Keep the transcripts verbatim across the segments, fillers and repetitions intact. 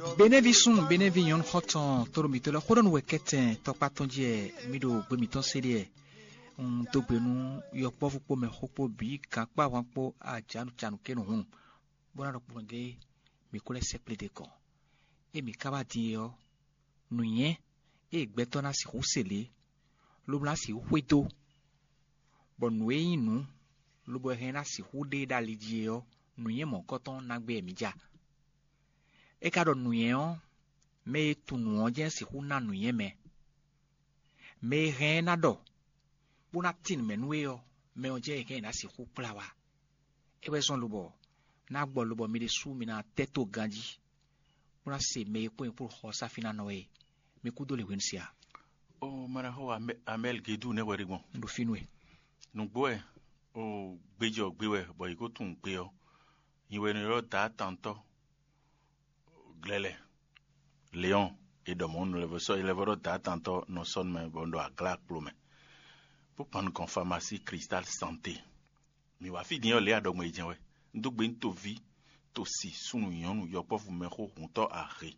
Benɛ́ví súnnu, benɛ́ví nyɔ̌nu xɔ́ntɔn, tóɖó mǐtɔn lɛ́ɛ xó ɖɔ nú wɛ kɛ́tɛn tɔkpá tɔn jí wɛ mǐ ɖo gbé mǐtɔn se ɖe wɛ. Un dó gbe nú yɔkpɔ́vú kpó mɛxó kpó bǐ, gankpáhwan kpó ajǎnúcanú kɛ́nú hǔn, bó ná ɖɔ kplɔ́n gé mǐ kó lɛ́ sɛkplé ɖe kɔn. Ée mǐ ka wá din é ɔ́, nǔnywɛ́ e gbɛtɔ́ ná sixú se lě, lobo ná sixú xwedó, bɔ nǔ e nyí nǔ, lobo hɛn ná sixú ɖe ɖo ali jí é ɔ́, nǔnywɛ́ mɔ̌hunkɔtɔn ná gbé wɛ mǐ ja. É ka ɖɔ nǔnywɛ́ ɔ́, mɛ e tunwun nǔ ɔ́ jɛ́n sixú ná nǔnywɛ́ mɛ. Mɛ e hɛn ɛ ná ɖɔ, bó ná tín nǔ mɛ nú we ɔ́, mɛ ɔ́ jɛ́n è hɛn ná sixú kplá wá. É wɛ zɔ́n lobɔ ná gbɔ lobɔ mi ɖésú mi ná tɛ́ tó ganjí, bó ná se mɛ e kpó nyɛ kpó xɔ sáfínánɔ e mi kú dó le hwenu se a? Ó Manaxó Amɛ́l Gedú nɛ́ hwɛ ɖé gbɔn. Un ɖo fínú e. Nǔgbó wɛ, ó gbéjɔ gbé wɛ bɔ yě ko tunwun gbe ɔ́, nyi wɛ nɔ ylɔ́ Daatantɔ́ Glɛlɛ, Leɔn, è ɖɔ mɔ̌ nú lɛ́vɔ́ sɔ́ lɛ́vɔ́ ɖɔ Daatantɔ́ nɔ sɔ́ nú mɛ bɔ un ɖo aglá kplo mɛ, bó kpan nukɔn famasí Cristal Santé. Mǐ wá fí din ɔ́ lě aɖɔgbɔn e jɛ́n wɛ. Un dó gbe nú toví, tosi, súnnu, nyɔ̌nu, yɔkpɔ́vú, mɛxó, hǔntɔ́, ahe,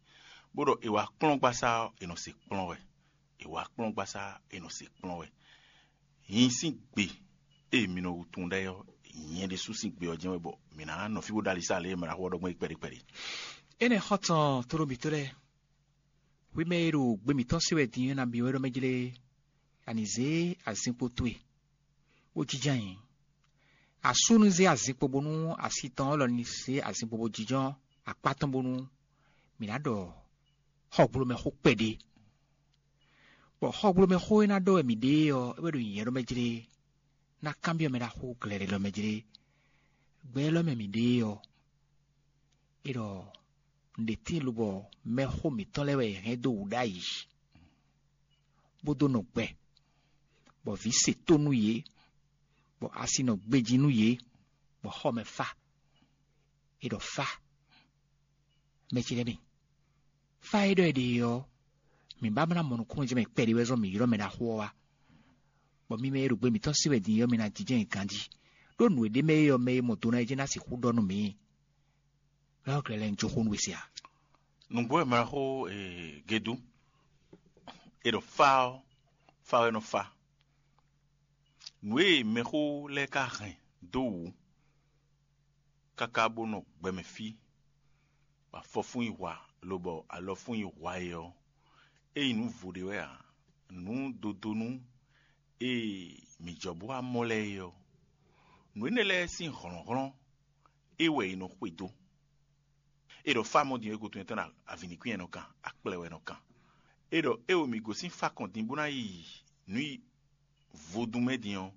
bó ɖɔ è wá kplɔ́n gbasá ɔ́, è nɔ se kplɔ́n wɛ. È wá kplɔ́n gbasá ɔ́, è nɔ se kplɔ́n wɛ. Nyi sín gbe e mi nɔ tunwun ɖ'ayǐ ɔ́, nyɛ ɖésú sín gbe ɔ́ jɛ́n wɛ bɔ mǐ ná nɔ fí bó ɖó alisá lě e mɛ ná xo ɔ́ ɖɔ gbɔn é kpɛɖé kpɛɖé. Énɛ́ xɔ́ntɔn tóɖó mǐtɔn lɛ́ɛ, hwi mɛ e ɖo gbe mǐtɔn se wɛ din ɔ́ nabí wɛ ɖɔ mɛ jlé, a nǐ zé azinkpo towe, bó jínjɔ́n ayǐ. Asú ní zé azinkpo bónú asi tɔn élɔ́ ní zé azinkpo bó jínjɔ́n akpá tɔn bónú mǐ ná ɖɔ xɔgblomɛxó kpɛɖé. Bɔ xɔgblomɛxó e ná ɖɔ wɛ mǐ ɖe é ɔ́, é wɛ ɖo nyǐnyɛ́ ɖɔ mɛ jlé, ná kanbyɔ́ mɛ ɖaxó glɛ̌ɖɛ́ ɖɔ mɛ jlé. Gbɛ élɔ́ mɛ mǐ ɖe é ɔ́, é ɖɔ un ɖe tíin lobɔ mɛxó mǐtɔn lɛ́ɛ wɛ è hɛn dó wǔ ɖ'ayǐ, bó dó nɔ gbɛ, bɔ vǐ se tó nú yě, bɔ asi nɔ gbejí nú yě, bɔ xɔ mɛ fá. É ɖɔ fá, mɛ ce lɛ́ɛ mi, fá e ɖɔ è ɖe ɔ́, mǐ ba ná mɔ nukúnnú jɛ mɛ kpɛɖé wɛ zɔ́n mǐ ylɔ́ mɛ ɖaxó ɔ́ wá, bɔ mi mɛ e ɖo gbe mǐtɔn sí wɛ din é ɔ́, mi ná jínjɔ́n nyi ganjí, ɖó nǔ e ɖ'é mɛ é ɔ́, mɛ e mɔ do ná é jɛ́n ná sixú ɖɔ nú mǐ. Lɔ̌ glɛ́ lɛ́ɛ un jó xó nú we se a? Nǔgbó wɛ ma xó Gedú. È ɖɔ fá ɔ́, fá wɛ nɔ fá. Nǔ e mɛxó lɛ́ɛ ka hɛn dó wǔ káká bó nɔ gbɛmɛ fí, bɔ afɔfún yi hwa, lobɔ alɔfún yi hwa é ɔ́, é nyí nǔ vo ɖé wɛ ǎ. Nǔ dodónú e mǐ jɔ bó wá mɔ lɛ́ɛ é ɔ́, nǔ énɛ́ lɛ́ɛ sín hlɔ̌nhlɔ́n é wɛ è nɔ xwedó. È ɖɔ fá mɔ din ɔ́, é ko tunwun tɔn ɖo avǐnikwín wɛ nɔ kan, akplɛ wɛ nɔ kan. È ɖɔ é wo mǐ gosín fá kɔn din bó ná yi nǔ yi vodún mɛ din ɔ́,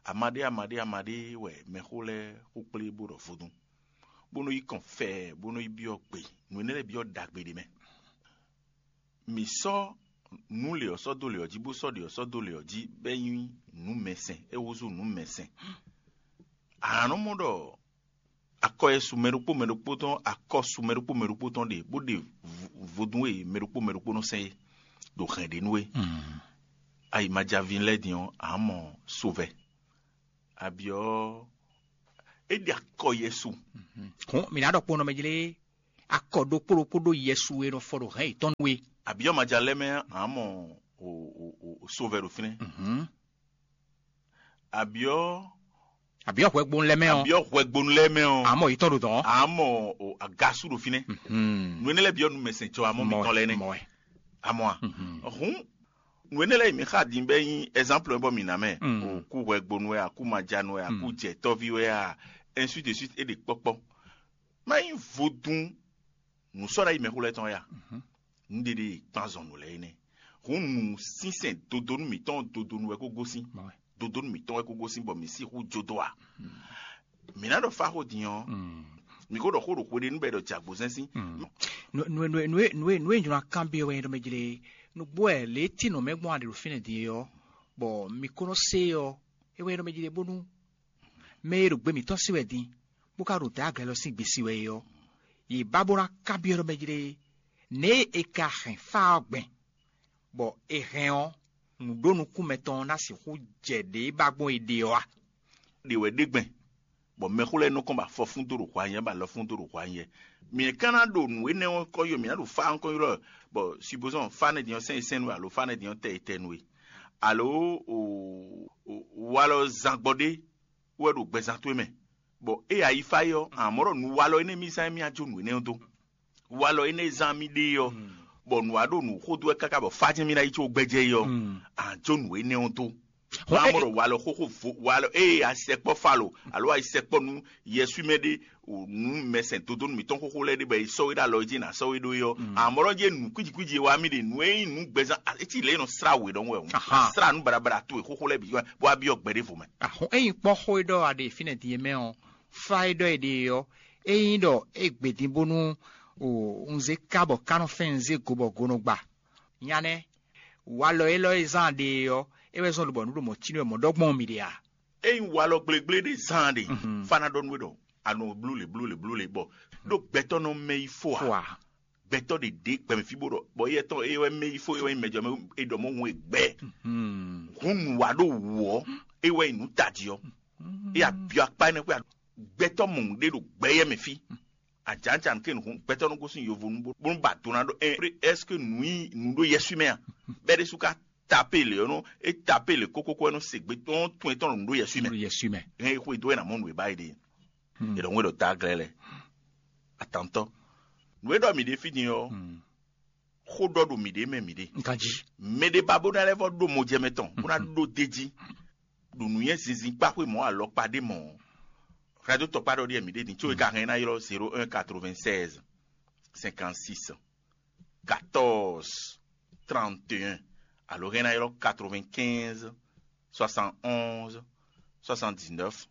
amaɖé amaɖé amaɖé wɛ mɛxó lɛ́ɛ xó kplé bó ɖɔ vodún, bó nɔ́ yi kɔn fɛɛ, bó nɔ́ yi byɔ́ gbe, nǔ énɛ́ lɛ́ɛ byɔ́ ɖagbe ɖé mɛ. Mǐ sɔ́ nǔ lě ɔ́ sɔ́ dó lě ɔ́ jí, bó sɔ́ ɖě ɔ́ sɔ́ dó lě ɔ́ jí, bɔ é nyí nǔ mɛsɛn, é húzú nǔ mɛsɛn. A nǎ nɔ mɔ ɖɔ akɔ e su mɛ ɖokpó mɛ ɖokpó tɔn, akɔ su mɛ ɖokpó mɛ ɖokpó tɔn ɖe, bó ɖe vodún e mɛ ɖokpó mɛ ɖokpó nɔ sɛn é ɖo hɛn ɖě nú é. Ayi ma ja vǐ lɛ́ɛ din ɔ́, a mɔ sovɛ. Abyɔ́ é ɖe akɔ Yɛsu. Hɔn mǐ ná ɖɔ kpɔ́n nɔ mɛ jlé akɔ ɖokpó ɖokpó ɖó Yɛsu e nɔ fɔ ɖo hɛn yětɔn nú é. Abyɔ́ ma ja lɛ́ mɛ, a mɔ sovɛ ɖo fínɛ́. Abyɔ́ Abyɔ́ hwɛgbonu lɛ́ɛ mɛ ɔ́, abyɔ́ hwɛgbonu lɛ́ɛ mɛ ɔ́, a mɔ yětɔn ɖo dɔn. A mɔ agasu ɖo fínɛ́. Nú énɛ́ lɛ́ɛ byɔ́ nú mɛsɛn cɔ, a mɔ mitɔn lɛ́ɛ nɛ́. Mɔ wɛ. A mɔ a? Hǔn nǔ énɛ́ lɛ́ɛ yi mǐ xa din bɔ é nyí ɛzánplɔ bɔ mǐ ná mɛ. Kú hwɛgbonu wɛ a, kú majanu wɛ a, kú jɛtɔ́ví wɛ a, ainsi de suite é ɖe kpɔ́kpɔ́. Má nyí vodún nǔ sɔ́ ɖ'ayǐ mɛxó lɛ́ɛ tɔn wɛ a? Nǔɖéɖé e kpán zɔn nǔ lɛ́ɛ é nɛ́. Hǔn nǔ sínsɛn dodonu mǐtɔn dodonu wɛ kó gosín. Dodonu mǐtɔn wɛ kó gosín bɔ mǐ sixú jó dó a? Mǐ ná ɖɔ fá xó din ɔ́, mǐ ko ɖɔ xó ɖo hweɖénu bɔ è ɖɔ jɛ agbozɛ́n sín. Nǔ e nǔ e nǔ e nǔ e nǔ e nylɔ kanbyɔ́ wɛ nyí ɖɔ mɛ jlé nǔgbó wɛ lě e tínɔ mɛ gbɔn a ɖe ɖo fínɛ́ din é ɔ́, bɔ mi ko nɔ se ɔ́, é wɛ nyí ɖɔ mɛ jlé bónú mɛ e ɖo gbe mǐtɔn sí wɛ din, bó ka ɖo dǎ glɛ́ lɔ sín gbe sí wɛ é ɔ́, yě ba bó ná kanbyɔ́ ɖɔ mɛ jlé nɛ̌ e è ka hɛn fá ɔ́ gbɛn, bɔ è hɛn ɔ́, nǔ ɖó nukún mɛtɔn ɔ́ ná sixú jɛ ɖě e ba gbɔn è ɖe ɔ́ a? Ɖě wɛ ɖe gbɛn. Bɔ mɛxó lɛ́ɛ nɔ kɔn ba fɔfún dó ɖo hwa nyɛ, ba lɔfún dó ɖo hwa nyɛ. Mǐ ka ná ɖo nǔ énɛ́ ɔ́ kɔ ylɔ́, mǐ ná ɖo fá ɔ́ kɔ ylɔ́, bɔ supposons fá nɛ́ din ɔ́ sɛ́n sɛ́n nú we alo fá nɛ́ din ɔ́ tɛ e tɛ nú we, alo walɔ zán gbɔ ɖé wɛ ɖo gbɛzán towe mɛ, bɔ é ayi fá é ɔ́, amɔ̌ ɖɔ nǔ walɔ énɛ́ mì zán mì á jó nǔ énɛ́ ɔ́ dó. Walɔ énɛ́ zán mì ɖe ɔ́, bɔ nǔ wa ɖo nǔ xó dó wɛ káká bɔ fá jɛ́n mì ná yi có gbɛjɛ é ɔ́, a jó nǔ énɛ́ ɔ́ dó. Hɔn é- Amɔ̌ ɖɔ walɔ xóxó vo walɔ ée a sɛkpɔ́ falo alo a yi sɛkpɔ́ nú yɛswímɛ ɖé, nú mɛsɛn dodónu mǐtɔn xóxó lɛ́ɛ ɖé bɔ è sɔ́ we ɖó alɔ jí nǎ sɔ́ we ɖó é ɔ́, amɔ̌ ɖɔ jɛ nǔ kwíji kwíji e wa mì ɖe nǔ e nyí nǔ gbɛzán etí lě nɔ srá wě ɖɔhun wɛ hǔn. Aha. Srá nǔ baɖabaɖa towe xóxó lɛ́ɛ bǐ bó wá byɔ́ gbɛ ɖěvo mɛ. Ahɔn ényí kpɔ́n xó e ɖɔ a ɖe fínɛ́ din e mɛ ɔ́, fá e ɖɔ è ɖe ɔ́, ényí ɖɔ é gbě din bónú un zé ká bɔ ká nɔ fɛ́n un zé go bɔ go nɔ gba. Nya nɛ́, walɔ élɔ́ e zán a ɖe e ɔ́, é wɛ zɔ́n lobɔ nǔ ɖo mɔ̌ cí nú wɛ mɔ̌ ɖɔ gbɔn mì ɖe a? Ényí walɔ gblégblé ɖé zán a ɖe, fá ná ɖɔ nú we ɖɔ a nɔ blú lě blú lě blú lě bɔ ɖó gbɛtɔ́ nɔ mɛ yi fó a? Fó a? Gbɛtɔ́ ɖě ɖě gbɛmɛ fí bó ɖɔ bɔ éyɛ́ tɔn é wɛ mɛ yi fó é wɛ nyí mɛjɔ mɛ é ɖɔ mɔ hun e gbɛ. Hun nǔ wa ɖó wǔ ɔ́, é wɛ nyí nǔ tají ɔ́. É abyɔ akpá énɛ́ xwé gbɛtɔ́ mɔ̌ ɖé ɖo gbɛ yɛ mɛ fí. Ajǎnjǎn ké nǔ gbɛtɔ́ nɔ gosín yovo nú bó nú ba do ná ɖɔ ɛ est ce que nǔ yi nǔ ɖó yɛswí mɛ a? Bɛ́ ɖésú ka tapé lě ɔ́ nɔ é tapé lě kókókó ɛ nɔ se gbe tɔn tún etɔn nǔ ɖó yɛswí mɛ. Ɖo yɛswí mɛ. Hɛn e xwedó wɛ nǎ mɔ nǔ e ba é ɖe. È ɖɔ ŋwé ɖɔ ta glɛ́ lɛ atantɔ. Nǔ e ɖɔ mǐ ɖe fí din ɔ́, xó ɖɔ ɖo mǐɖée mɛ mǐɖée. Nkan jí. Mɛ ɖé ba bó ná lɛ́ vɔ ɖó mɔjɛmɛ tɔn bó ná ɖó d'é jí ɖo nǔnywɛ́ zinzin kpá xwé mɔ̌ alɔkpa ɖé mɔ̌. Hɛn dó tɔkpá ɖɔ ɖíe mǐɖée din có é ka hɛn ná ylɔ́ zéro un quatre-vingt-seize cinquante-six quatorze trente et un, alo hɛn ná ylɔ́ quatre-vingt-quinze soixante-onze soixante-dix-neuf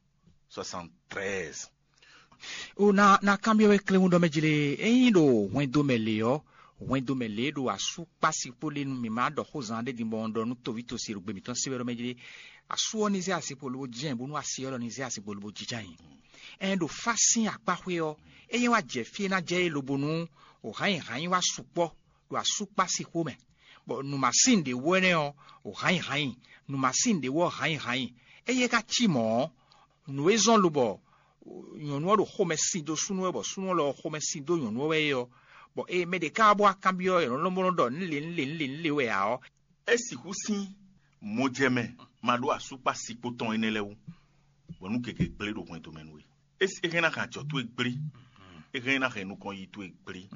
soixante-treize. O na na kanbyɔ́ wɛ kléwún ɖɔ mɛ jlé ényí ɖo hwɛndo mɛ lě ɔ́, hwɛndo mɛ lě ɖo asú kpási kpó lé nú mǐ ma ɖɔ xó zan ɖé din bɔ un ɖɔ nú toví tosi ɖo gbe mǐtɔn sí wɛ ɖɔ mɛ jlé. Asú ɔ́ ní zé asi kpo lobo jɛ́n bónú asi ɔ́ lɔ ní zé asi kpo lobo jínjɔ́n ayǐ. Ɛn ɖo fá sín akpá xwé ɔ́, é nyɛ wá jɛ fí e ná jɛ é lobo nú o hǎnyi hǎnyi wá sukpɔ́ ɖo asú kpási xó mɛ, bɔ nǔmasín ɖě wú ɛnɛ́ ɔ́, o hǎnyi hǎnyi, nǔmasín ɖě wú ɔ́ hǎnyi hǎnyi. Éyɛ́ ka cí mɔ̌ ɔ́, nǔ e zɔ́n lobɔ nyɔ̌nu ɔ́ ɖo xomɛ sin dó súnnu wɛ bɔ súnnu ɔ́ lɔ xomɛ sin dó nyɔ̌nu ɔ́ wɛ é ɔ́, bɔ ée mɛ ɖě ká wá bó wá kanbyɔ́ nyɔ̌nu lɔmɔ̌ ɖɔ nǔ lě nǔ lě nǔ lě nǔ lě wɛ ǎ ɔ́, é sixú sín mɔjɛmɛ ma ɖó asúkpá sikpó tɔn énɛ́ lɛ́ɛ wú, bɔ nú gěgé gblé ɖo hwɛndo mɛ nú we. É hɛn ná hɛn ajɔ towe gblé, é hɛn ná hɛn nukɔn yi towe gblé.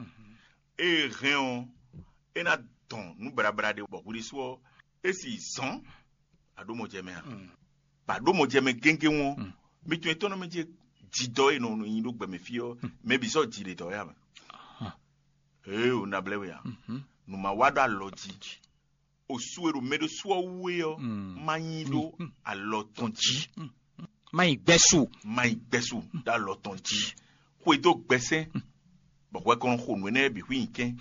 É hɛn ɔ́, é ná dɔn nǔ blablá ɖé bɔ hwiɖésú ɔ́, é si zɔn aɖómɔjɛmɛ a? Ba ɖómɔjɛmɛ géngé wɔn, mi tún etɔ́ nɔ mɛ jɛ jidɔ e nɔ nyi ɖó gbɛmɛ fí ɔ́, mɛ bǐ sɔ́ ji ɖe dɔ̌ ya mɛ. Ee, o na blɛ́ we a? Nǔ ma wa ɖo alɔ jí. O su e ɖo mɛ ɖo su ɔ́ wú é ɔ́, má nyi ɖó alɔ tɔn jí. Má nyi gbɛ́ su. Má nyi gbɛ́ su ɖó alɔ tɔn jí. Xwedó gbɛsɛn, bɔ hwɛ kɔn xo nǔ énɛ́ bǐ xwí nyi kɛn.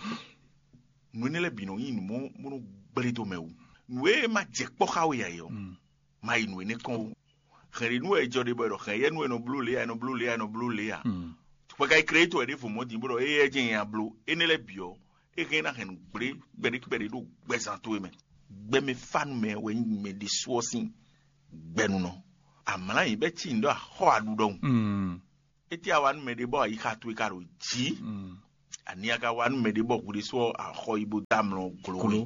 Nǔ énɛ́ lɛ́ɛ bǐ nɔ nyí nǔ mɔ bó nɔ gblé dó mɛ wú. Nǔ e ma jɛ kpɔ́ xá we ǎ é ɔ́, má yi nǔ énɛ́ kɔn ó. Hɛn ɖě nú wɛ è jɔ ɖe bɔ è ɖɔ hɛn yɛ nú è nɔ bló lě ǎ, è nɔ bló lě ǎ, è nɔ bló lě ǎ. Hwɛ ka yi Kleyíto wɛ ɖěvo mɔ̌ din bó ɖɔ éyɛ́ jɛ́n nya bló. Énɛ́ lɛ́ɛ bǐ ɔ́, é hɛn ná hɛn nǔ gblé kpɛɖé kpɛɖé ɖo gbɛzán towe mɛ. Gbɛmɛ fá nú mɛ wɛ nyí mɛ ɖésú ɔ́ sín gbɛnunɔ. Amlǎ nyǐ bɛ́ cí nǔ ɖɔ axɔ́ aɖu ɖɔhun. Étɛ́ a wa nú mɛ ɖé bɔ ayixa towe ka ɖo jǐ? Ani a ka wa nú mɛ ɖé bɔ hwi ɖésú ɔ́ axɔ yi bó dó amlɔ glo we?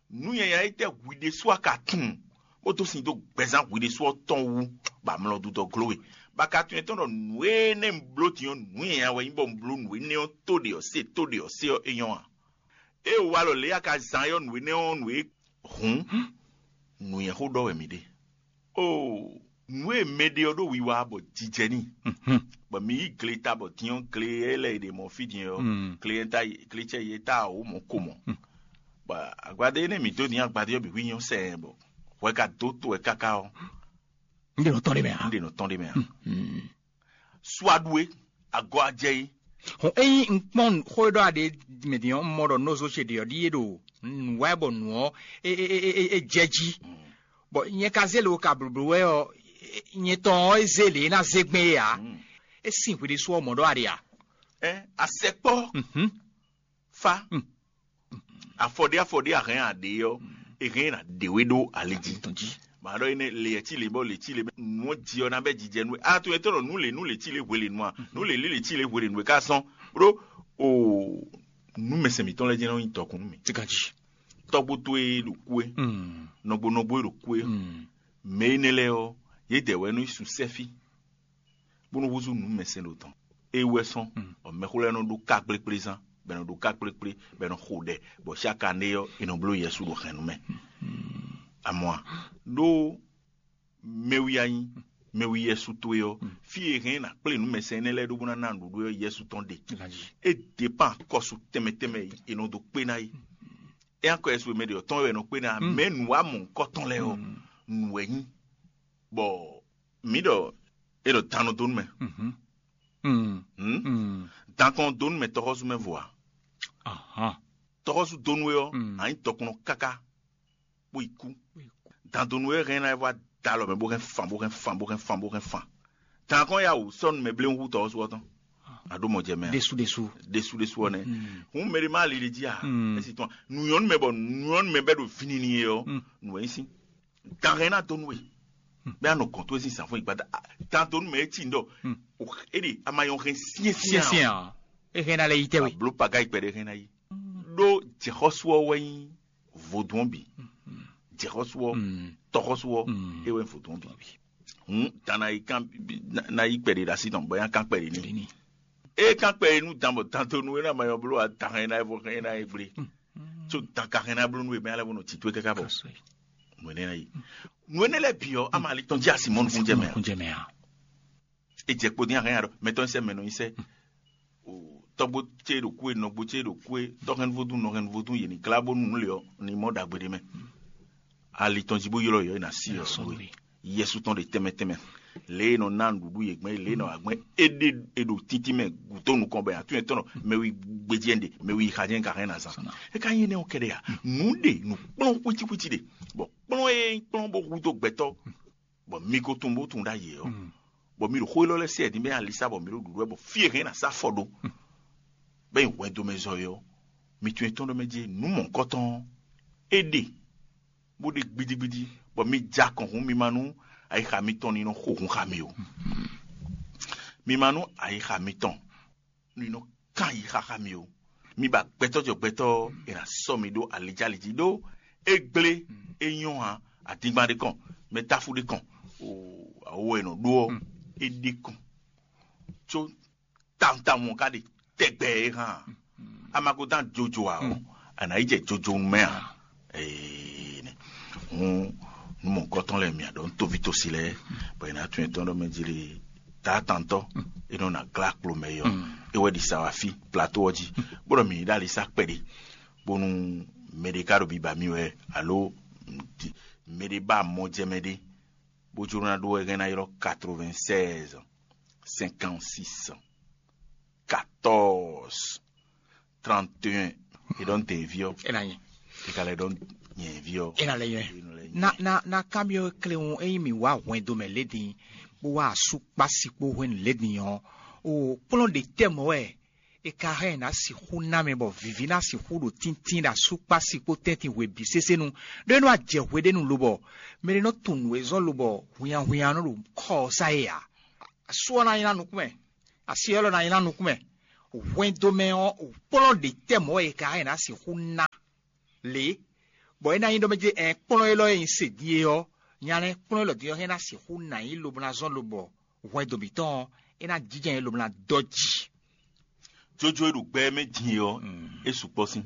Nǔ nyanya étɛ́ hwi ɖésú a ka tunwun bó dó sin dó gbɛzán hwi ɖésú ɔ́ tɔn wú, bɔ amlɔ dudɔ glo we? Bɔ a ka tunwun tɔn ɖɔ nǔ énɛ́ un bló din ɔ́, nǔ nyanya wɛ nyí bɔ un bló nǔ énɛ́ ɔ́ tó ɖe ɔ́ se, tó ɖe ɔ́ se ɔ́, é nyɔ́ a? Ée wǎ lɔ lě a ka zán ɔ́ nǔ énɛ́ ɔ́ nǔ e hǔn nǔnywɛ́xó ɖɔ wɛ mǐ ɖe. Oo, nǔ e mɛ ɖe ɔ́ ɖo wiwa bɔ jijɛ n'i, bɔ mi yí gleta bɔ din ɔ́, gle e lɛ́ è ɖe mɔ̌ fí din ɔ́, gle e ta gle cɛ ye ta wǒ mɔ̌ ko mɔ̌. Bɔ agbadé énɛ́ mǐ dó din agbadé ɔ́ bǐ hwí nyɔ́ sɛɛ bɔ hwɛ ka dó to wɛ káká ɔ́, Un ɖe nɔ tɔn ɖé mɛ ǎ. Un ɖe nɔ tɔn ɖé mɛ ǎ. Suaɖu e, agɔ ajɛ e. Hɔn ényí un kpɔ́n xó e ɖɔ aɖe mɛ din ɔ́, un mɔ ɖɔ nɔzo ce ɖe ɔ́ ɖíe ɖo nǔ wa bɔ nǔ ɔ́ é jɛ jí. Bɔ nyɛ ka zé lě wo ka blǒblǒ wɛ ɔ́, nyɛ tɔn ɔ́ é zé lě é ná zé gbɛn é ǎ. É sin hwi ɖésú ɔ́ mɔ̌ ɖɔ aɖe ǎ. Ɛ asɛkpɔ́ fá afɔɖé afɔɖé a hɛn a ɖě ɔ́, è hɛn ná ɖě we ɖó ali jí. Tɔn jí. A ɖɔ énɛ́ lě cí lě bɔ lě cí lě bɔ nǔ ɔ́ ji ɔ́ ná bɛ́ jijɛ nú we. A to etɔ́ ɖɔ nǔ lě nǔ lě cí lě hwe lě nú a? Nǔ lě lě lě cí lě hwe lě nú we ká sɔ́n. Ɖó o nǔ mɛsɛn mǐtɔn lɛ́ɛ jɛ́n nɔ nyí dɔkun nú mì. Ganji. Tɔ́gbó towe ɖo kú é, nɔgbo nɔgbo e ɖo kú é, mɛ énɛ́ lɛ́ɛ ɔ́, yědɛɛ wɛ nɔ yi sun sɛ́fí, bó nɔ húzú nǔ mɛsɛn ɖo tɔn. É wɛ sɔ́n, bɔ mɛxó lɛ́ɛ nɔ ɖó ká kplékplé zán, bɔ è nɔ ɖó ká kplékplé, bɔ è nɔ xo ɖɛ, bɔ xyáka ɖé ɔ́, è nɔ bló Yɛsu ɖo hɛn nú mɛ. Amɔ̌ a? Ɖó mɛwi a nyí, mɛwi Yɛsu towe ɔ́, fí e hɛn ná kplé nǔ mɛsɛn énɛ́ lɛ́ɛ ɖó bó ná ná nǔɖuɖu ɔ́ Yɛsu tɔn ɖe. É dě pan kɔsu tɛnmɛ tɛnmɛ e è nɔ dó kpé ná é. É nyí akɔ Yɛsu e mɛ ɖě ɔ́ tɔn wɛ è nɔ kpé ná, mɛ nǔ wa mɔ̌hunkɔtɔn lɛ́ɛ ɔ́, nǔ wɛ nyí. Bɔ mǐ ɖɔ é ɖɔ dan nɔ dó nú mɛ. Dan kɔn dó nú mɛ tɔxɔsú mɛ vo a? Tɔxɔsú dó nú we ɔ́, a nyí dɔkunnɔ káká, bó yi kú. Dan dó nú we hɛn ná e vɔ da alɔ mɛ bó hɛn fan bó hɛn fan bó hɛn fan bó hɛn fan. Dan kɔn ya wǔ sɔ́ nú mɛ bléwún hú tɔxɔsú ɔ́ tɔn. A ɖó mɔ jɛ mɛ a? Ɖésú ɖésú. Ɖésú ɖésú ɔ́ nɛ́. Hǔn mɛ ɖé má li ɖe jí a? Esi tɔn nǔ nyɔ́ nú mɛ bɔ nǔ nyɔ́ nú mɛ bɛ́ ɖo vǐnini e ɔ́, nǔ wɛ nyí sín. Dan hɛn ná dó nú we. Bɛ́ a nɔ gɔn towe sín zǎnfɔ́n yi gbada. Dan dó nú mɛ e cí ndɔ. É ɖe a ma nyɔ hɛn syɛ́nsyɛ́n a? Syɛ́nsyɛ́n a? É hɛn ná lɛ́ yi tɛ́ we. Bló paga yi kpɛɖé hɛn ná yi. Ɖó jɛxɔ́sú ɔ́ wɛ nyí vodún ɔ́ bǐ. Jɛxɔ́sú ɔ́, tɔxɔ́sú ɔ́, é wɛ nyí vodún ɔ́ bǐ. Hǔn dan ná yi kán ná yi kpɛɖé ɖo así tɔn bɔ é ná kán kpɛɖé n'i. É kán kpɛɖé nú dan bɔ dan dó nú é ná ma nyɔ bló a dan hɛn ná yi vɔ hɛn ná yi gblé. Tso dan ka hɛn ná bló nú é mɛ alɛ bó nɔ tito é káká bɔ nǔ énɛ́ ná yi. Nǔ énɛ́ lɛ́ɛ bǐ ɔ́, ama ali tɔn jí asi mɔ nukúnjɛ mɛ a? Kúnjɛ mɛ a? É jɛ kpo dín ahɛn ya ɖɔ mɛtɔn sɛ mɛ nɔ nyi sɛ. Tɔgbo ce ɖo kú e, nɔgbo ce ɖo kú e, tɔhɛnvodún nɔhɛnvodún yě ní glá bónú nǔ lě ɔ́ ní mɔ ɖagbe ɖé mɛ. Ali tɔn jí bó ylɔ́ yɔ é ná sí ɔ sɔn we. Yɛsu tɔn ɖe tɛnmɛ tɛnmɛ. Lě e nɔ ná nǔɖuɖu yě gbɛn, lě e nɔ agbɛn é ɖe, é ɖo títí mɛ gǔdo nukɔn bɛ atún yɛn tɔn mɛ wi gbejɛ ɖe, mɛ wi xa jɛn ka hɛn na zan. É ka nyí énɛ́ ɔ́ kɛɖɛ a? Nǔ ɖe nǔ kplɔ́n hwítíhwítí ɖe, bɔ kplɔ́n e kplɔ́n bó húdó gbɛtɔ́, bɔ mi ko tunwun bó tunwun ɖ'ayǐ ɔ́, bɔ mi ɖo xó élɔ́ lɛ́ɛ sɛ din bɛ́ alisa bɔ mi ɖo ɖuɖu wɛ bɔ fí e hɛn ná sá fɔ ɖó, bɛ́ nyi hwɛndo mɛ zɔ é ɔ́, mi tunwun etɔ́n ɖɔ mɛ jí nǔ mɔ̌hunkɔtɔn ɔ́, é ɖe, bó ɖe gbidigbidi, bɔ mi ja kɔn hǔn mi ma nú ayixa mitɔn ní nɔ xo hun xá mi o. Mi ma nú ayixa mitɔn ní nɔ kán yi xáxá mi o. Mi ba gbɛtɔ́ jɔ gbɛtɔ́ ɔ́, è nǎ sɔ́ mi ɖó alijáliji ɖó é gblé, é nyɔ́ ǎ, adingban ɖé kɔn, mɛtáfú ɖé kɔn, awo e nɔ ɖó ɔ́, é ɖé kɔn. Có tawun tawun ɔ́ ka ɖe tɛgbɛ é hán ǎ. A ma ko dán jojo ǎ ɔ́, a nǎ yi jɛ jojo mɛ ǎ. Ee, hǔn nú mɔ̌hunkɔtɔn lɛ́ɛ mǐ ɖɔ nú toví tosi lɛ́ɛ, bɔ è nǎ tunwun etɔ́n ɖɔ mɛ jlé taatantɔ́ e nɔ ná glá kplo mɛ é ɔ́, é wɛ ɖi sa wá fí plato ɔ́ jí, bó ɖɔ mǐ ní ɖo ali sá kpɛɖé, bónú mɛ ɖé ka ɖo biba mì wɛ, alo mɛ ɖé ba mɔ jɛ mɛ ɖé, bó jló ná ɖó wɛ hɛn ná ylɔ́ quatre-vingt-seize, cinquante-six, quatorze, trente et un. E ɖɔ nte vi ɔ. Ena nyi. Kika lɛ ɖɔ nyɛ vi ɔ. Ena lɛ nyɛ. Na na na kamiɔ kleun eyi mi wa hwɛndo mɛ ledin, bó wa asu kpasi kpo hwenu ledin ɔ, o kplɔn ɖe tɛ mɔ wɛ e ka hɛn na sixu na mɛ bɔ vivi na sixu ɖo tíntín ɖo asu kpasi kpo tɛntin hwe bi sesenu ɖo e nɔ ajɛ hwe ɖe nu lobɔ mɛ ɖe nɔ tunnu ezɔn lobɔ hwianhwian nɔ ɖo kɔ sa ye a? Asu ɔ na nyi na nukún mɛ. Asi élɔ́ ná nyí ná nukún mɛ. Hwɛndo mɛ ɔ́, kplɔ́n ɖě tɛ mɔ̌ e ka é ná sixú ná lě, bɔ é ná nyí ɖɔ mɛ jɛ ɛ kplɔ́n élɔ́ e nyi se din é ɔ́, nya lɛ́ɛ kplɔ́n élɔ́ din ɔ́ hɛn ná sixú ná nyí lobo ná zɔ́n lobɔ hwɛndo mǐtɔn ɔ́, é ná jínjɔ́n nyí lobo ná dɔ́ jǐ. Jójó e ɖo gbɛ ɛ mɛ din é ɔ́, é sukpɔ́ sín.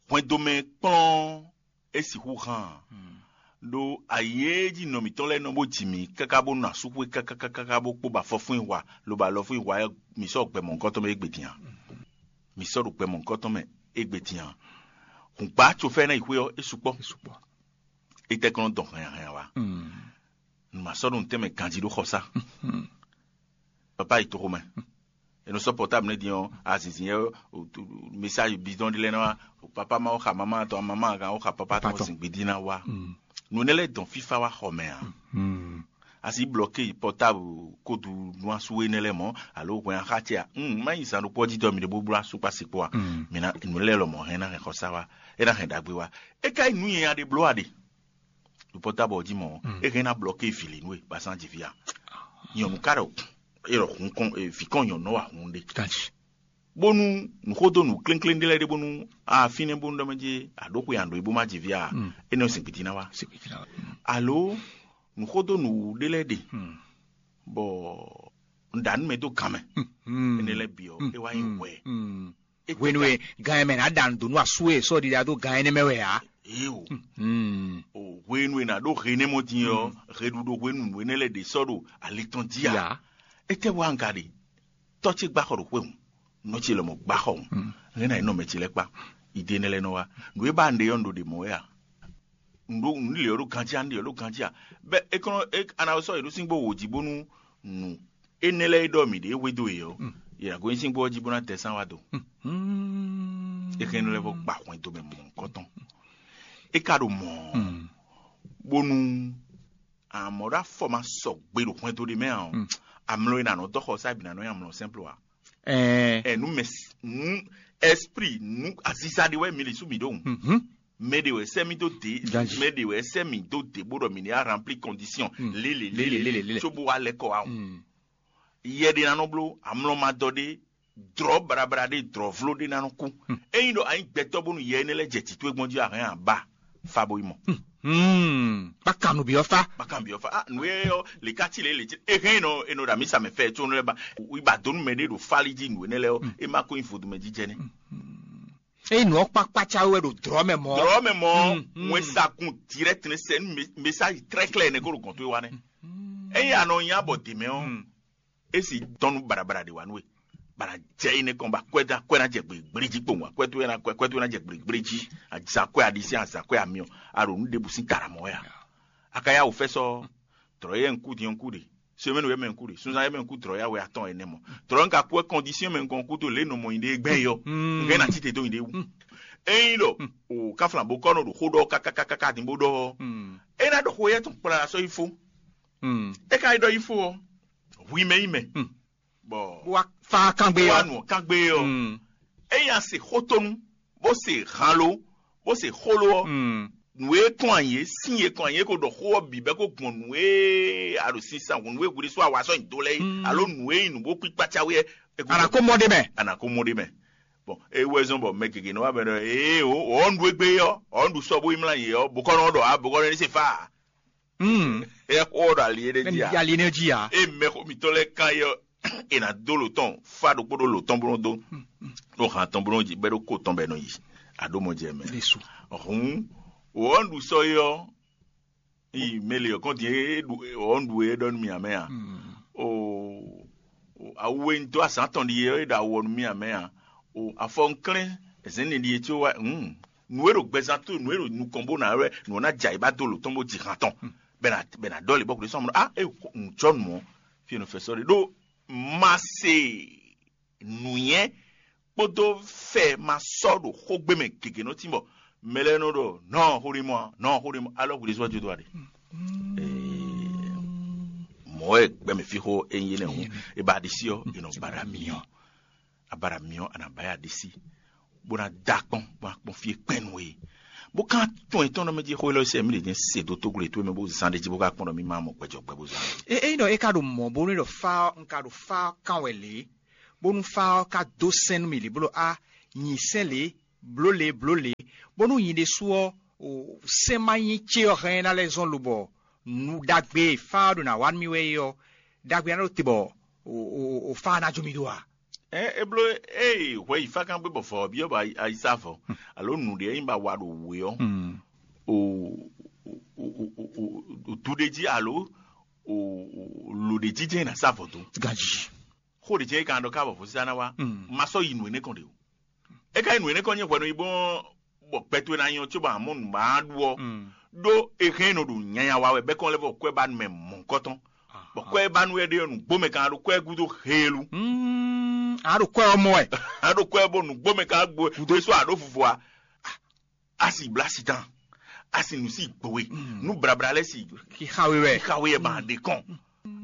Hwɛndo mɛ kplɔ́n é sixú hán ǎ. Ɖó ayǐ e jí nɔ mǐtɔn lɛ́ɛ nɔ bó ji mǐ káká bó nɔ asúxwé káká káká bó kpó ba fɔfún yi hwa lobo alɔfún yi hwa ɔ́, mǐ sɔ́ gbɛ mɔ̌hunkɔtɔn mɛ égbé din ǎ. Mǐ sɔ́ ɖo gbɛ mɔ̌hunkɔtɔn mɛ égbé din ǎ. Hǔngbá cofɛ́ ná yi xwé ɔ́, é sukpɔ́. Étɛ́ kɔn nɔ dɔn hɛnnyahɛnya wá? Nǔ ma sɔ́ ɖo nǔtɛn mɛ ganjí ɖó xɔsá. Papa yi toxo mɛ. E nɔ sɔ́ pɔtáblu nɛ́ din ɔ́, azinzin yɛ message bidɔn ɖé lɛ́ɛ ná wá. Papa ma wó xa mama tɔn, mama kan wó xa papa tɔn, zin gbidi ná wá. Nǔ nɛ́ lɛ́ɛ dɔn fífá wá xɔ mɛ ǎ. Asi blɔke pɔtáblu kódu nú asú énɛ́ lɛ́ɛ mɔ̌, alo hwɛn axá ce a? Má nyi zan ɖokpó ɔ́ jí dɔ mi ɖe bó bló asú kpá sikpó a? Mǐ ná nǔ lɛ́ɛ lɔmɔ̌ hɛn ná hɛn xɔsá wá, é ná hɛn ɖagbe wá. É ka nyí nǔ nyanya ɖé bló a ɖe? ɖo pɔ́tábɔl jí mɔ̌, é hɛn ná blɔ́ ké vǐ lě nú we basán jǐ fí a? Nyɔ̌nu ka ɖɔ é ɖɔ hun kɔn vǐ kɔn nyɔ̌nu nɔ wa hun ɖe. Bónú nǔxódó nǔ klénkléng ɖé lɛ́ɛ ɖé bónú a fínɛ́ bónú ɖɔ mɛ jí a ɖǒ xwe a ɖǒ e bó má ji vǐ a, énɛ́ ɔ́ sin gbiti ná wá. Alo nǔxódó nǔwú ɖé lɛ́ɛ ɖe bɔ un ɖa nú mɛ dó gan mɛ, énɛ́ lɛ́ɛ bǐ ɔ́ é wá nyí hwɛ. Hwenu e gan e mɛ ná ɖa nǔ dó nú asú e sɔ́ ɖiɖa dó gan énɛ́ mɛ wɛ ǎ. Éewo, o hwenu e nǎ ɖó he énɛ́ mɔ din ɔ́, heɖuɖo hwenu nǔ énɛ́ lɛ́ɛ ɖě sɔ́ ɖo ali tɔn jí a? Étɛ́ wá un ka ɖe? Tɔ́ ce gbá xɔ ɖo xwé hǔn, nɔ ce lɔmɔ̌ gbá xɔ hǔn, hɛn ná yi nɔ mɛ ce lɛ́ɛ kpá. Ìdí énɛ́ lɛ́ɛ nɔ wá. Nǔ e ba un ɖe ɔ́, un ɖo ɖě mɔ̌ wɛ a? Un ɖo un lě ɔ́ ɖo ganjí a? Un lě ɔ́ ɖo ganjí a? Bɛ́ é kɔn é a nǎ sɔ́ yě ɖó síngbó wǒ jí bónú nǔ énɛ́ lɛ́ɛ e ɖɔ mǐ ɖe hwedó yě ɔ́, yě ná gosín síngbó ɔ́ jí bó ná tɛ sán wá do. É hɛn nú lɛ́ vɔ gba hwɛndo mɛ mɔ̌hunkɔtɔn. É ka ɖo mɔ̌ bónú amɔ̌ ɖo afɔ ma sɔgbe ɖo hwɛndo ɖé mɛ ǎ ɔ́, amlɔ e nǎ nɔ dɔ xɔ sá bǐ ná nɔ nyi amlɔ sɛ́nplo ǎ. Ɛɛ, nu mɛ nu esprit nu aziza ɖe wɛ mi li sú mi ɖo ŋu. Mɛ ɖe wɛ sɛ mi dó de, mɛ ɖe wɛ sɛ mi dó de bó ɖɔ mi ní a rempli condition lélẹ̀ lélẹ̀ lélẹ̀ lélẹ̀, tso bó wa lɛ kɔ wa ŋu. Yɛ ɖe ná nɔ bló amlɔ ma dɔ ɖé, drɔ̌ braɖé drɔ̌vló ɖé ná nɔ kú. Ényí ɖɔ anyi gbɛtɔ́ bónú yɛ énɛ́ lɛ́ɛ jɛ tǐtú e gbɔn jí a hɛn a ba fa bo yi mɔ. Hmm. Bákan nǔ byɔ́ fá. Bákan byɔ́ fá. Ah, nǔ e ɔ́ lě ká ci lě lě ci e hɛn nɔ e nɔ ɖo amisa mɛ fɛ tso nɔ lɛ ba. Yi ba donu mɛ ɖé ɖo fali jí nǔ énɛ́ lɛ ɔ́, e ma ko nyi vodun mɛ jíjɛ nɛ. Eye nǔ ɔ́ kpákpá cáwé wɛ ɖo drɔ̌ mɛ mɔ̌. Drɔ̌ mɛ mɔ̌, wɛn sagun direct ne sɛ nu message très clair ne ko ɖo gɔn to wa nɛ. Eye anɔ nya bɔ dè mɛ ɔ́, esi dɔnnu barabara ɖe wa nú we. Bana jɛ yi ne kɔn ba kwɛ da kwɛ na jɛ gbegbleji kpowun, kwɛ to na kwɛ kwɛ to na jɛ gbegbleji, azakwɛ aɖisí azakwɛ amiɔ, aɖo nu ɖebu sin tara mɔ ya. Akaya wo fɛ sɔ, drɔ yɛ nku diɔn ku de, semaine yɛ mɛ nku de, sunzan yɛ mɛ nku drɔ ya wɛ atɔn ɛnɛ mɔ. Drɔ nka kwɛ condition mɛ nkan ku to le nɔ mɔ yi de gbɛ yɔ. Nka na tite do yi de wu. Eyin ɖɔ o kaflan bo kɔ nɔ ɖo xó ɖɔ kakakaka din bo ɖɔ. E na ɖɔ xó yɛ tɔn kpla sɔ yi fo. E ka yi ɖɔ yi fo ɔ, hui mɛ yi mɛ. Bɔ bó wá fá kángbe wá ɔ́. Nù kángbe ɔ́. Eyin a se xótónu, bó se hanlo, bó se xólo ɔ́, nǔ e kɔn anyi é, sín e kɔn anyi é ko ɖɔ xó ɔ́ bǐ bɛ́ ko gbɔn nǔ e a ɖo sin san hǔn nǔ e hwiɖésú a wa sɔ́ nyi dó lɛ́ɛ é, alo nǔ e nyi nǔ bó kpíkpá cáwé ɛ. Ana kó mɔ ɖé mɛ. Ana kó mɔ ɖé mɛ. Bɔn é wɛ zɔn bɔ mɛ gěgé nɔ wá bɛ ɖɔ ee o ɔ́ nɖu égbé ɔ́ ɔ́ nɖu sɔ́ bó yi mlá yě ɔ́ bokɔ́nɔ ɖɔ a bokɔ́nɔ ní se fá a. Ɛ xó ɖo ali éɖé jí a? Yali ne jí a? E mɛ xó mitɔn lɛ kan yɔ e na dó lo tɔn fa ɖokpó ɖo lo tɔn bó nɔ dó ɖo han tɔn bó nɔ jí bɛ ɖo kó tɔn bɛ nɔ yi. Aɖó mɔ jɛ mɛ. Lisu. Hǔn wɔ ɔ́ ɖu sɔ yɔ yi mɛ le ɔkɔn din e ɖu wɔ ɔ́ ɖu e ɖɔ nú mi amɛ a? O awu e ŋutɔ azǎn tɔn ɖi e ɖo awɔ nú mi amɛ a? O afɔ ŋklɛ́n zɛ̌n ne ɖi e có wá hǔn nǔ e ɖo gbɛzán tó nǔ e ɖo nukɔn bó ná wɛ nǔ ɔ́ ná jɛ ayǐ ba dó lo tɔn bó ji han tɔn bɛ na bɛ na ɖɔli bɔ kò sɔn mɔ ah e ŋu jɔ nǔ ɔ́ fi e nɔ fɛ sɔ ɖe ɖó ma se nǔnyɛ kpódó fɛ ma sɔ ɖo xógbé mɛ gěgé nɔ tín bɔ mɛ lɛ́ɛ nɔ ɖɔ nɔ xó ɖé mɔ a nɔ xó ɖé mɔ alɔ hwi ɖé sɔ wá jó dó wa ɖe mɔ̌ wɛ gbɛmɛ fí xó e nyí énɛ́ hǔn e ba ɖisí ɔ́ e nɔ ba ɖo amì ɔ́ a ba ɖo amì ɔ́ a nǎ ba ya ɖisí bó ná dó akpɔ́n bó ná kpɔ́n fí e kpɛ́n nú we bó ka tɔn etɔ́n nɔ mɛ jí xó élɔ́ sɛ mí ɖě jɛ́n se dó tóglo e towe mɛ bó zán ɖ'é jí bó ka kpɔ́n ɖɔ mí ma mɔ gbɛjɔ gbɛ bó zán. E ényí ɖɔ é ka ɖo mɔ̌ bónú é ɖɔ fá ɔ́, un ka ɖo fá ɔ́ kán wɛ lě, bónú fá ɔ́ ka dó sɛ́n nú mì lě bó ɖɔ á, nyi sɛ́n lě, blǒ lě, blǒ lě, bónú nyi ɖésú ɔ́, o sɛ́n ma nyí cé ɔ́ hɛn ná lɛ́ zɔ́n lobɔ nǔ ɖagbe e fá ɔ́ ɖo ná wa nú mì wɛ é ɔ́, ɖagbe ná ɖo te bɔ o o o fá ɔ́ ná jó mì ɖó a? Ɛ é bló ée hwɛ yi fákán gbé bɔ vɔ̌ ɔ́ byɔ́ bɔ ayi sá vɔ̌ alo nǔɖé e nyí ba wa ɖo wǔ é ɔ́, o o o o o du ɖé jí alo o o lo ɖé jí jɛ́n è nǎ sá vɔ̌ dó. Ganjí. Xó ɖě jɛ́n é ka nɔ ɖɔ ká bɔ vɔ̌sísá ná wá. Ma sɔ́ yi nǔ énɛ́ kɔn ɖě o. É ka nyí nǔ énɛ́ kɔn nyí hwɛɖɔ yi bó bɔ gbɛ towe ná nyɔ cóbɔ amɔ̌ nǔ ma ɖu ɔ́, ɖó è hɛn nɔ ɖo nyanya wa wɛ bɛ́ kɔn lɛ́ vɔ kwɛ́bánu mɛ mɔ̌hunkɔtɔn. Bɔ kwɛ́bánu wɛ ɖe ɔ́, nǔgbó mɛ ka ɖo kwɛ́ gúdo heelu. A ɖo kwɛ́ ɔ́ mɔ wɛ. A ɖo kwɛ́ bɔ nǔgbó mɛ ka gbo gúdo sɔ́ a ɖó vuvu a. A si blá si tán, a si nǔ si gbowe, nú blabla lɛ́ɛ si Xixawe wɛ. Xixawe yɛ ma ɖe kɔn.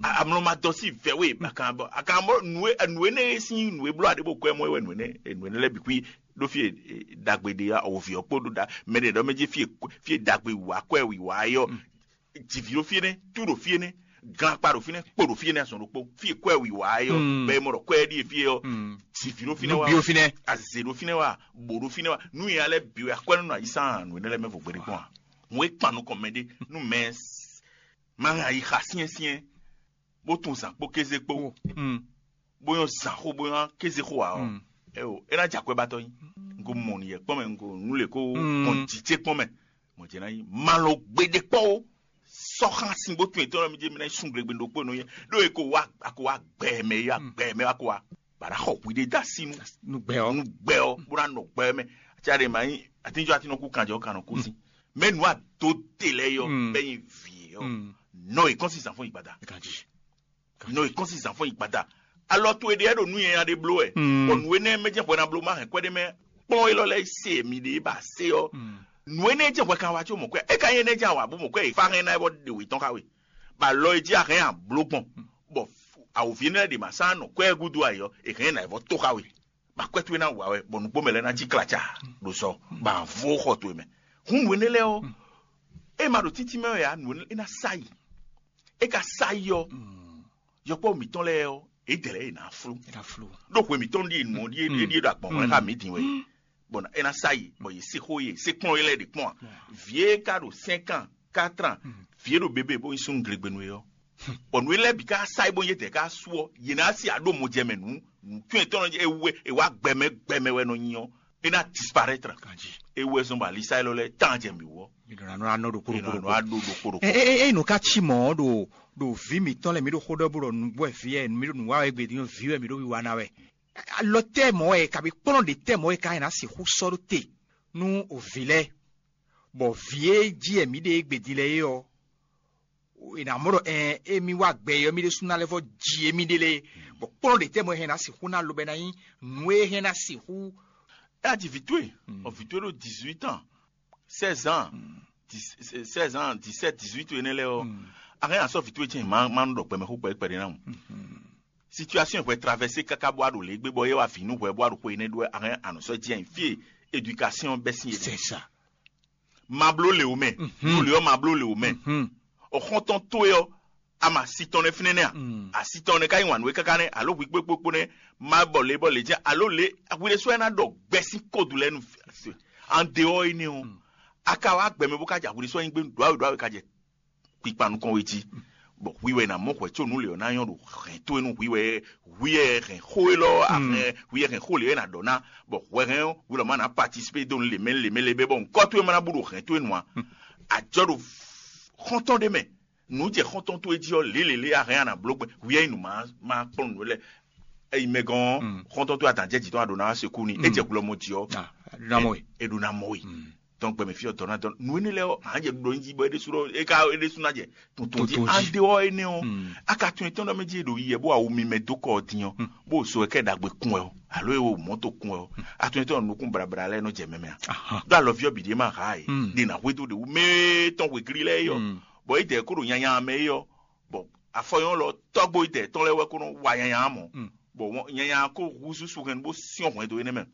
Amlɔ ma dɔ si vɛ we akan bɔ akan bɔ nue nue ne si nue blɔ aɖe bo kwɛ mɔ wɛ nue ne nue ne lɛ bi kui ɖo fi dagbe de ya ovi ɔkpo ɖo da mɛ ɖe ɖɔ mɛ dzi fi fi dagbe wa kwɛ wi wa yɔ Jivǐ ɖo fí énɛ́, tú ɖo fí énɛ́, glakpa ɖo fínɛ́, kpo ɖo fí énɛ́, azɔn ɖokpó. Fí e kwɛ́ wǐ wá é ɔ́, bɛ́ mɔ ɖɔ kwɛ́ ɖíe fí é ɔ́, jivǐ ɖo fínɛ́ wá, azě ɖo fínɛ́ wá, bǒ ɖo fínɛ́ wá. Nú nya lɛ́ɛ bǐ wɛ akwɛ́ nɔ nɔ ayǐ sán nǔ énɛ́ lɛ́ɛ mɛ vo gbeɖé kpɔ́n ǎ. Nǔ e kpan nukɔn mɛɖé nú mɛ ma hɛn ayi xa syɛ́nsyɛ́n, bó tunwun zǎn kpó kéze kpó, bó nyɔ́ zǎn xó, bó nyɔ́ kéze xó ǎ ɔ́, é o, é ná jɛ akwɛ́batɔ́ nyi. Un ko mɔ nǔ yɛ kpɔ́n mɛ, un ko nǔ lě ko gbɔn jǐ ce kpɔ́n mɛ. Mɔ̌ jɛ́n ná nyí malɔ gbeɖé kpɔ́ ó. Sɔ́ xá sin bó tunwun etɔ́ mi jí mi ná yi sun glegbe ɖokpó nɔ yɛ, ɖó e ko wá a ko wá gbɛ mɛ, yɔ gbɛ mɛ wá ko wá, bǎ ná xɔ hwi ɖé dó así nú nú gbɛ ɔ́. Nú gbɛ ɔ́, bó ná nɔ gbɛ mɛ. Aca ɖe ma nyí atínjɔ atínɔ kú kanjɔ kan nɔ kú sí. Mɛ nǔ ado te lɛ yɔ, bɛ nyi vǐ yɔ. Nɔ e kɔn si zan fún ìgbada. Ganji. Nɔ e kɔn si zan fún ìgbada. Alɔ to e ɖe ɖo nú yɛn ɖe bló wɛ. Bɔ nǔ énɛ́ mɛ jɛ hwɛ ná bló ma hɛn kwɛ́ ɖé mɛ kplɔ́n élɔ́ lɛ́ɛ se mi ɖe ba se ɔ́. Nǔ énɛ́ jɛ hwɛ kan wá có mɔ kwɛ́. É ka nyí énɛ́ jɛ awǎ bó mɔ kwɛ́ e fá hɛn ná é bɔ ɖe wě tɔn xá we. Bɔ alɔ e jí a hɛn a bló gbɔn. Bɔ awǒvi énɛ́ lɛ́ɛ ɖe ma sán nɔ kwɛ́ gúdo ayɔ, è hɛn ná é vɔ tó xá we. Bɔ akwɛ́ towe ná wa wɛ, bɔ nǔgbó mɛ lɛ́ɛ ná jí klaca ɖo sɔ, bɔ a vo xɔ towe mɛ. Hǔn nǔ énɛ́ lɛ́ɛ ɔ́, é ma ɖo títí mɛ wɛ ǎ, nǔ énɛ́ é ná sa yi. É ka sa yi ɔ́, yɔkpɔ́ mǐtɔn lɛ́ɛ ɔ́, é dɛ lɛ́ɛ è nǎ flú. Ɖó hwe mǐtɔn ɖíe nǔ ɔ́ ɖíe ɖíe ɖo agbɔ̌n xá mǐ din wɛ. Bɔ é ná sa yi, bɔ yě se xó yě se kplɔ́n é lɛ́ɛ ɖě kpɔ́n ǎ. Vǐ e ka ɖo sɛ́n kan kátran, vǐ e ɖo bebé bó nyí súnnu glegbenu é ɔ́, bɔ nǔ e lɛ́ɛ bǐ ka sa yi bó nyí étɛ́ ká su ɔ́, yě ná sí aɖó mɔ jɛ mɛ nǔ nǔ tɔn e tɔn e wɛ è wá gbɛmɛ gbɛmɛ wɛ nɔ nyi ɔ́, é ná disparaître. É wɛ zɔn bɔ alisa élɔ́ lɛ́ɛ tán jɛ mǐ wú ɔ́. Mǐ ɖo ná nɔ anɔ ɖokpó ɖokpó ɖokpó. Anɔ aɖó ɖokpó ɖokpó. Eye eye nǔ ka cí mɔ̌ ɖo ɖo vǐ mǐtɔn lɛ́ɛ mǐ ɖo xó ɖɔ bó ɖɔ nǔgbó wɛ vǐ wɛ mǐ ɖo nǔ wa wɛ gbedi nyɔ́ vǐ wɛ mǐ ɖo wiwa ná wɛ. Alɔ tɛ́ mɔ̌ wɛ kabi kplɔ́n ɖě tɛ́ mɔ̌ wɛ ka nyi ná sixú sɔ́ ɖó te nú vǐ lɛ́ɛ, bɔ vǐ e jí wɛ mǐ ɖe égbé din lɛ́ɛ é ɔ́, è nǎ mɔ ɖɔ ɛn émí wá gbɛ é ɔ́, mí ɖésú ná lɛ́ vɔ́ ji émí ɖe lé, bɔ kplɔ́n ɖě tɛ́ mɔ̌ é hɛn ná sixú ná lobɛ ná nyí nǔ e hɛn ná sixú. É ná ji vǐ towe, bɔ vǐ towe ɖo dix-huit ans, seize ans, dix- seize ans, dix-sept, dix-huit énɛ́ lɛ́ɛ ɔ́, a hɛn ná sɔ́ vǐ towe jɛ́n má má nɔ ɖɔ gbɛmɛ xó kpɛɖé kpɛɖé ná mu. Situation hwɛ traversé káká bó wá ɖo lě gbé bɔ é wá vǐ nú hwɛ bó wá ɖo xó énɛ́ ɖó wɛ, a hɛn ná nɔ sɔ́ jɛ́n fí e éducation bɛ́ sín é. C'est ça. Ma bló lě wú mɛ, nú lě ɔ́ ma bló lě wú mɛ. Ɔxɔntɔn towe ɔ́, a ma si tɔn nɛ́ fínɛ́ nɛ́ a? Asi tɔn nɛ́ ka nyí wǎn nú we káká nɛ́, alo hwi kpókpókpó nɛ́, ma bɔ lě bɔ lě jɛ́n, alo lě hwi ɖésú wɛ ná ɖɔ gbɛ́ sín kódu lɛ́ɛ nú an de ɔ́ énɛ́ ɔ́, a ka wá gbɛ mɛ bó ká jɛ hwi ɖésú anyigbe ɖó awe ɖó awe ka jɛ kpikpa nukɔn we jí. Bɔ hwi wɛ ná mɔ hwɛ có nǔ lě ɔ́ ná nyɔ́ ɖo hɛn towe nú hwi wɛ, hwi wɛ hɛn xó élɔ́ a hɛn hwi wɛ hɛn xó lě wɛ ná ɖɔ ná, bɔ hwɛ hɛn ɔ́ hwi lɔ ma ná participé dó nú lě mɛ lě mɛ lě bɛ bɔ ŋkɔ towe ma ná bú ɖo hɛn towe nu ǎ. Ajɔ ɖo xɔ́ntɔn ɖé mɛ, nǔ jɛ xɔ́ntɔn towe jí ɔ́ lě lě lě a hɛn a nǎ bló gbɛn hwi wɛ nyí nǔ ma ma kplɔ́n nǔ lɛ́ɛ. Eyi mɛ gɔn ɔ́, xɔ́ntɔn towe adǎn jɛ jǐ tɔn a ɖǒ ná wá se kú ni, é jɛ hwlɔ́mɔ jí ɔ́, é ɖó ná mɔ we. Tɔn gbɛmɛ fí ɔ́ dɔn ná dɔn nǔ énɛ́ lɛ́ɛ ɔ́, hǎn jɛ ɖɔ nyi jí bɔ é ɖésú ɖɔ é ka é ɖésú ná jɛ tuntun jí. Tuntun jí. An ɖe ɔ́ énɛ́ ɔ́, a ka tunwun tɔn ɖɔ mɛ jí ɖo yi yɛ bó awu mi mɛ dó kɔ ɔ́ din ɔ́, bó so ɛkɛ ɖagbe kun wɛ ɔ́, alo é wo mɔ̌to kun wɛ ɔ́, a tunwun tɔn nukún brabra lɛ́ɛ nɔ jɛ mɛ mɛ a? Ɖó alɔví ɔ́ bǐ ɖě ma ha e, ɖe ná hwedó ɖe wú mɛ tɔn hwegli lɛ́ɛ é ɔ́, bɔ é dɛ kó ɖo nyanya mɛ é ɔ́, bɔ afɔnyɔ́ lɔ tɔ́gbó yi dɛ tɔn lɛ́ɛ wɛ kó nɔ wa nyanya mɔ, bɔ nyanya kó húzú su hɛn bó syɔ́n hwɛndo énɛ́ mɛ.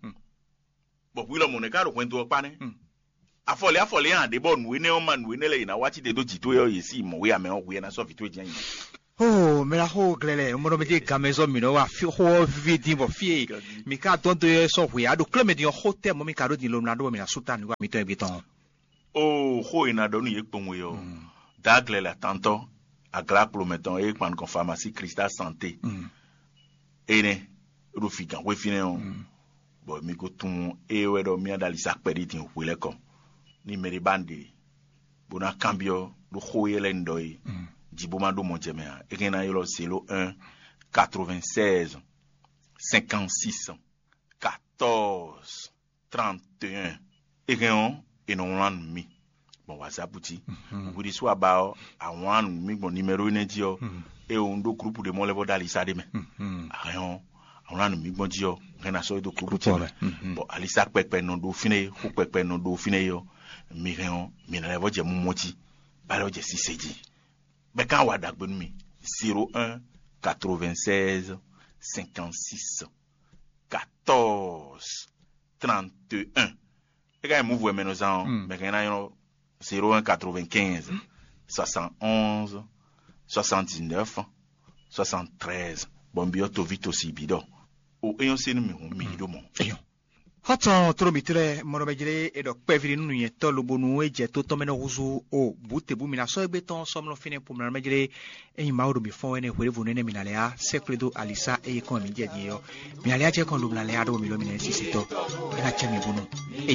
Bɔ hwi lɔmɔ̌ nɛ́ ka ɖo hwɛndo ɔ́ kpá nɛ́. Afɔlɛ afɔlɛ nya ɖě bɔ nǔ énɛ́ ɔ́ ma nǔ énɛ́ lɛ́ɛ yě ná wá cí te dó jǐ towe ɔ́, yě sí mɔ̌ wé amɛ ɔ́, hwi ɛ ná sɔ́ vǐ towe jɛ́n nyi. Ó mɛ ná xó glɛ́ lɛ́ɛ, un mɔ ɖɔ mɛ jẹ́ gamɛzɔ́ mǐ nɔ wa fí xó ɔ́ víví dín bɔ fí e mǐ ka dɔn dó é sɔ́ hwe á ɖo klɛ́ mɛ din ɔ́, xó tɛ́ mɔ̌ mǐ ka ɖó din lomla ɖó bɔ mǐ ná sú ta nǔ wa mǐtɔn e gbé tɔn ɔ́. Ó xó e ná ɖɔ nú yě kpowun é ɔ́, Daglɛ lɛ atantɔ́, aglá kplomɛ tɔn e kpan nukɔn Famasí Krista Santé énɛ́, é ɖo fǐgǎn xwé fínɛ́ ɔ́, bɔ mi ko tunwun ée wɛ ɖɔ mì ná ɖo ali sa kpɛɖí din hwe lɛ́ɛ kɔ. Ní mɛɖé ba nǔɖé, bó ná kanbyɔ́ ɖó xó éyɛ́ lɛ́ɛ un ɖɔ é jí bó má ɖó mɔ jɛ mɛ ǎ, é hɛn ná ylɔ́ zéro un, quatre-vingt-seize, cinquante-six, quatorze, trente et un. É hɛn ɔ́, è nɔ wlán nú mì gbɔn WhatsApp jí. Hwi ɖésú a ba ɔ́, a wlán nú mì gbɔn nimɛ́ro énɛ́ jí ɔ́, é un ɖó groupe ɖé mɔ lɛ́ vɔ ɖó alisa ɖé mɛ. A hɛn ɔ́, a wlán nú mì gbɔn jí ɔ́, hɛn ná sɔ́ é dó groupe jí mɛ. Bɔ alisa kpɛkpɛ nɔ ɖó fínɛ́ é, xó kpɛkpɛ nɔ ɖó fínɛ́ é ɔ́, mi hɛn ɔ́, mi ná lɛ́ vɔ jɛ mumɔ jí, bá lɛ́ vɔ jɛ sise jí. Bɛ kan wa ɖagbe nú mi. Zéro un, quatre-vingt-seize, cinquante-six, quatorze, trente et un. É ka nyí mǔvɔ e mɛ nɔ zán ɔ́, mɛ hɛn ná nyɔ́ zéro un, quatre-vingt-quinze, soixante-onze, soixante-dix-neuf, soixante-treize. Bɔ un byɔ́ toví tosi bǐ ɖɔ o é nyɔ́ sé nú mì hǔn mì yi ɖó mɔ̌. Xɔ́tɔn tló mǐtɔn lɛ́ɛ, mɔ ɖɔ mɛ jlé è ɖɔ kpɛví ɖé nú nǔnywɛ́tɔ́ lobo nú é jɛ tó tɔn mɛ nɔ húzú o bǔ te bú mǐ ná sɔ́ égbé tɔn sɔ́ mlɔ́ fínɛ́ po mǐ ná mɛ jlé. Ényí Mawu ɖo mǐ fɔ́n wɛ nɛ́ hwěɖěvo nɛ́ nɛ́ mǐ ná lɛ́ á sɛ́ xwlé dó alisá e yě kɔn mǐ jɛ din é ɔ́, mǐ ná lɛ́ á jɛ kɔn ɖo mǐ ná lɛ́ á ɖó mǐ lɔ mǐ ná nyí sisitɔ́. É ná cɛ mǐ bónú é